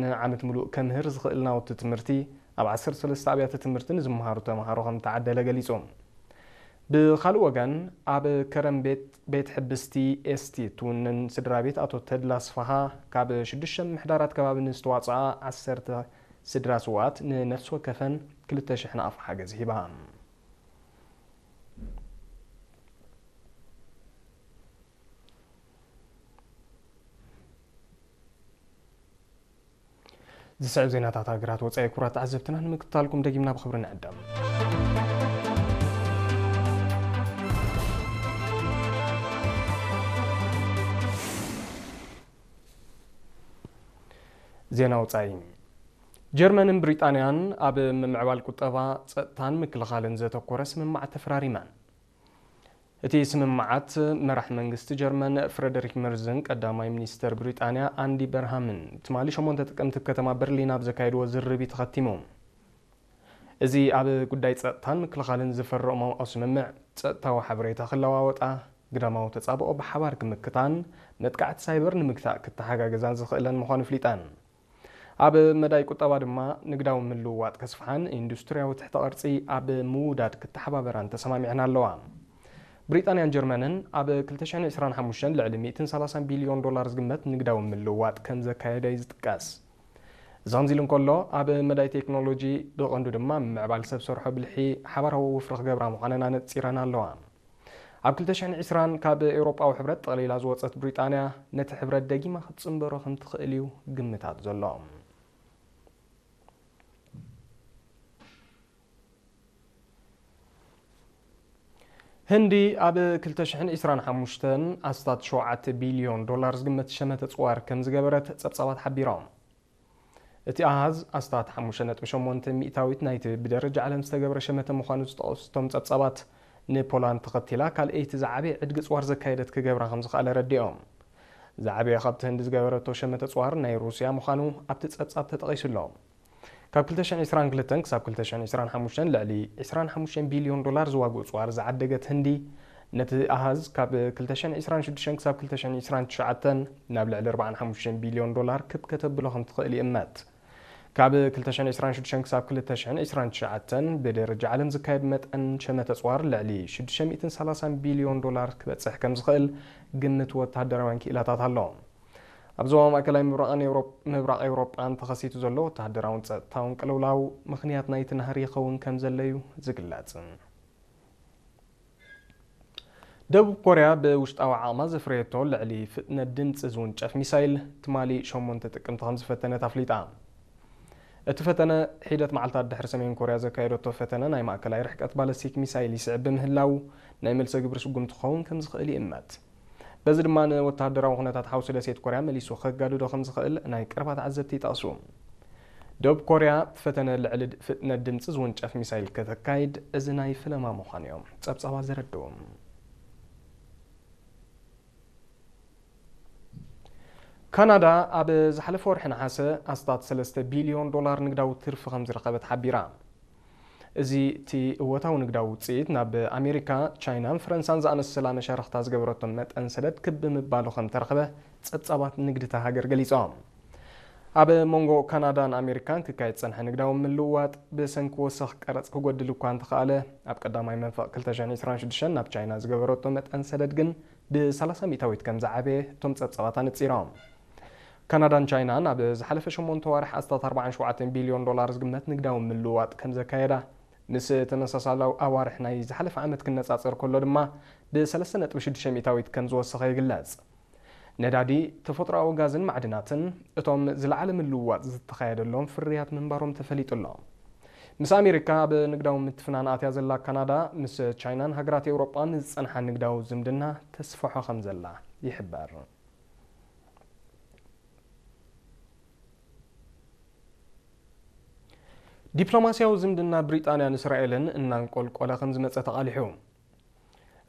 ንዓመት ምሉእ ከምህር ዝኽእል ናውቲ ትምህርቲ ኣብ ዓሰርተ ሰለስተ ኣብያተ ትምህርቲ ንዝመሃሩ ተምሃሮ ከም ተዓደለ ገሊጹ። ብኻልእ ወገን፣ ኣብ ከረን ቤት፣ ቤት ሕብስቲ ኤስቲ ትውንን ስድራ ቤት ኣቶ ተድላ ኣስፍሃ ካብ ሽዱሽተ ምሕዳራት ከባቢ ንዝተዋጽኣ ዓሰርተ ስድራ ስውኣት ንነፍሲ ወከፈን ክልተ ሽሕ ናቕፋ ሓገዝ ሂባ። ዝስዕብ ዜናታት ሃገራት ወጻኢ ክቡራት ተዓዘብትና ንምክትታልኩም ደጊምና ብኽብሪ ንዕደም። ዜና ወጻኢ። ጀርመንን ብሪጣንያን ኣብ ምምዕባል ቁጠባ፣ ጸጥታን ምክልኻልን ዘተኮረ ስምምዓት ተፈራሪመን። እቲ ስምምዓት መራሕ መንግስቲ ጀርመን ፍረደሪክ መርዝን ቀዳማይ ሚኒስተር ብሪጣንያ ኣንዲ በርሃምን ትማሊ ሸሞንተ ጥቅምቲ ኣብ ከተማ በርሊን ኣብ ዘካየድዎ ዝርርብ እዩ ተኸቲሙ። እዚ ኣብ ጉዳይ ጸጥታን ምክልኻልን ዝፈረሞ ስምምዕ፣ ጸጥታዊ ሓበሬታ ክለዋወጣ፣ ግዳማዊ ተጻብኦ ብሓባር ክምክታን መጥቃዕቲ ሳይበር ንምግታእ ክተሓጋገዛን ዝኽእለን ምዃኑ ኣፍሊጠን። ኣብ መዳይ ቁጠባ ድማ ንግዳዊ ምልውዋጥ ከስፍሓን ኢንዱስትሪያዊ ትሕተ ቅርጺ ኣብ ምውዳድ ክተሓባበራን ተሰማሚዐን ኣለዋ። ብሪጣንያን ጀርመንን ኣብ ክልተ ሽሕን ዕስራን ሓሙሽተን ልዕሊ ሚእትን ሰላሳን ቢልዮን ዶላር ዝግመት ንግዳዊ ምልውዋጥ ከም ዘካየዳ እዩ ዝጥቀስ። እዚ ከምዚ ኢሉ እንከሎ፣ ኣብ መዳይ ቴክኖሎጂ ብቐንዱ ድማ ምምዕባል ሰብ ሰርሖ ብልሒ ሓባራዊ ወፍሪ ክገብራ ምዃነን ኣነጺረን ኣለዋ። ኣብ ክልተ ሽሕን ዕስራን ካብ ኤውሮጳዊ ሕብረት ጠቕሊላ ዝወጸት ብሪጣንያ፣ ነቲ ሕብረት ደጊማ ክትጽንበሮ ከም ትኽእል እዩ ግምታት ዘሎ። ህንዲ ኣብ ክልተ ሽሕን ዕስራን ሓሙሽተን ኣስታት ሸውዓተ ቢልዮን ዶላር ዝግመት ሸመተ ጽዋር ከም ዝገበረት ጸብጻባት ሓቢሮም። እቲ ኣሃዝ ኣስታት ሓሙሽተ ነጥቢ ሸሞንተ ሚእታዊት ናይቲ ብደረጃ ዓለም ዝተገብረ ሸመተ ምዃኑ ዝጠቐሱ እቶም ጸብጻባት፣ ንፖላንድ ተኸቲላ ካልኣይቲ ዝዓበየ ዕድጊ ጽዋር ዘካየደት ክገብራ ከም ዝኽኣለ ረዲኦም። ዝዓበየ ካብቲ ህንዲ ዝገበረቶ ሸመተ ጽዋር ናይ ሩስያ ምዃኑ ኣብቲ ጸብጻብ ተጠቒሱ ኣሎ። ካብ ክልተ ሽሕን ዕስራን ክልተን ክሳብ ክልተ ሽሕን ዕስራን ሓሙሽተን ልዕሊ ዕስራን ሓሙሽተን ቢልዮን ዶላር ዝዋግኡ ጽዋር ዝዓደገት ህንዲ፣ ነቲ ኣሃዝ ካብ ክልተ ሽሕን ዕስራን ሽዱሽተን ክሳብ ክልተ ሽሕን ዕስራን ትሽዓተን ናብ ልዕሊ ኣርባዓን ሓሙሽተን ቢልዮን ዶላር ክብ ከተብሎ ከም ትኽእል ይእመት። ካብ ክልተ ሽሕን ዕስራን ሽዱሽተን ክሳብ ክልተ ሽሕን ዕስራን ትሽዓተን ብደረጃ ዓለም ዝካየድ መጠን ሸመተ ጽዋር ልዕሊ ሽዱሽተ ሚእትን ሰላሳን ቢልዮን ዶላር ክበጽሕ ከም ዝኽእል ግምት ወተሃደራውያን ክኢላታት ኣሎ። ኣብ ዞባ ማእከላይ ምብራቕን ኤውሮፕ-፣ ምብራቕ ኤውሮጳን ተኸሲቱ ዘሎ ወተሃደራውን ጸጥታውን ቅልውላው ምኽንያት ናይቲ ናህሪ ይኸውን ከም ዘሎ እዩ ዝግለጽ። ደቡብ ኮርያ ብውሽጣዊ ዓቕማ ዘፍረየቶ ልዕሊ ፍጥነት ድምጺ ዝውንጨፍ ሚሳይል ትማሊ ሸሞንተ ጥቅምቲ ከም ዝፈተነት ኣፍሊጣ። እቲ ፈተነ፣ ሒደት መዓልታት ድሕሪ ሰሜን ኮርያ ዘካየደቶ ፈተነ ናይ ማእከላይ ርሕቀት ባለስቲክ ሚሳይል ይስዕብ ብምህላው፣ ናይ መልሰ ግብሪ ስጉምቲ ክኸውን ከም ዝኽእል ይእመት። በዚ ድማ ንወተሃደራዊ ኩነታት ሓውሲ ደሴት ኮርያ መሊሱ ከጋድዶ ከም ዝኽእል ናይ ቀረባ ተዓዘብቲ ይጠቕሱ። ደቡብ ኮርያ ፈተነ ልዕሊ ድ-፣ ፍጥነት ድምጺ ዝውንጨፍ ሚሳይል ከተካይድ እዚ ናይ ፍለማ ምዃኑ እዮም ጸብጻባት ዘረድኡ። ካናዳ ኣብ ዝሓለፈ ወርሒ ነሓሰ ኣስታት ሰለስተ ቢልዮን ዶላር ንግዳዊ ትርፊ ከም ዝረኸበት ሓቢራ። እዚ እቲ እወታዊ ንግዳዊ ውጽኢት ናብ ኣሜሪካ፣ ቻይናን ፈረንሳን ዝኣመሰላ መሻርኽታ ዝገበረቶ መጠን ሰደድ ክብ ብምባሉ ከም ተረኽበ ጸብጻባት ንግዲ እታ ሃገር ገሊጾም። ኣብ መንጎ ካናዳን ኣሜሪካን ክካየድ ዝጸንሐ ንግዳዊ ምልውዋጥ ብሰንኪ ወሰኽ ቀረጽ ክጎድል እኳ እንተኸኣለ፣ ኣብ ቀዳማይ መንፈቕ ክልተ ሽሕን ዕስራን ሽዱሽተን ናብ ቻይና ዝገበረቶ መጠን ሰደድ ግን ብሰላሳ ሚእታዊት ከም ዝዓበየ እቶም ጸብጻባት ኣነጺሮም። ካናዳን ቻይናን ኣብ ዝሓለፈ ሸሞንተ ኣዋርሕ ኣስታት ኣርባዓን ሸውዓተን ቢልዮን ዶላር ዝግመት ንግዳዊ ምልውዋጥ ከም ዘካየዳ፣ ምስ ተመሳሳሊ ኣዋርሕ ናይ ዝሓለፈ ዓመት ክነጻጸር ከሎ ድማ ብሰለስተ ነጥቢ ሽዱሽተ ሚእታዊት ከም ዝወሰኸ ይግለጽ። ነዳዲ፣ ተፈጥሮኣዊ ጋዝን ማዕድናትን እቶም ዝለዓለ ምልውዋጥ ዝተኻየደሎም ፍርያት ምንባሮም ተፈሊጡ ኣሎ። ምስ ኣሜሪካ ኣብ ንግዳዊ ምትፍናን ኣትያ ዘላ ካናዳ፣ ምስ ቻይናን ሃገራት ኤውሮጳን ዝጸንሓ ንግዳዊ ዝምድና ተስፍሖ ከም ዘላ ይሕበር። ዲፕሎማስያዊ ዝምድና ብሪጣንያን እስራኤልን እናንቆልቆለ ከም ዝመጸ ተቓሊሑ።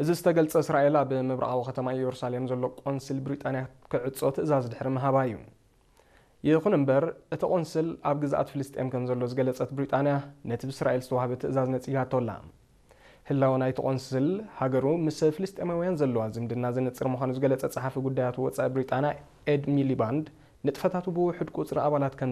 እዚ ዝተገልጸ፣ እስራኤል ኣብ ምብራቓዊ ከተማ ኢየሩሳሌም ዘሎ ቆንስል ብሪጣንያ ክዕጾ ትእዛዝ ድሕሪ ምሃባ እዩ። ይኹን እምበር፣ እቲ ቆንስል ኣብ ግዝኣት ፍልስጤም ከም ዘሎ ዝገለጸት ብሪጣንያ፣ ነቲ ብእስራኤል ዝተዋህበ ትእዛዝ ነጺጋቶ ኣላ። ህላወ ናይቲ ቆንስል፣ ሃገሩ ምስ ፍልስጤማውያን ዘለዋ ዝምድና ዘነጽር ምዃኑ ዝገለጸ ጸሓፊ ጉዳያት ወጻኢ ብሪጣንያ ኤድ ሚሊባንድ፣ ንጥፈታቱ ብውሑድ ቁጽሪ ኣባላት ከም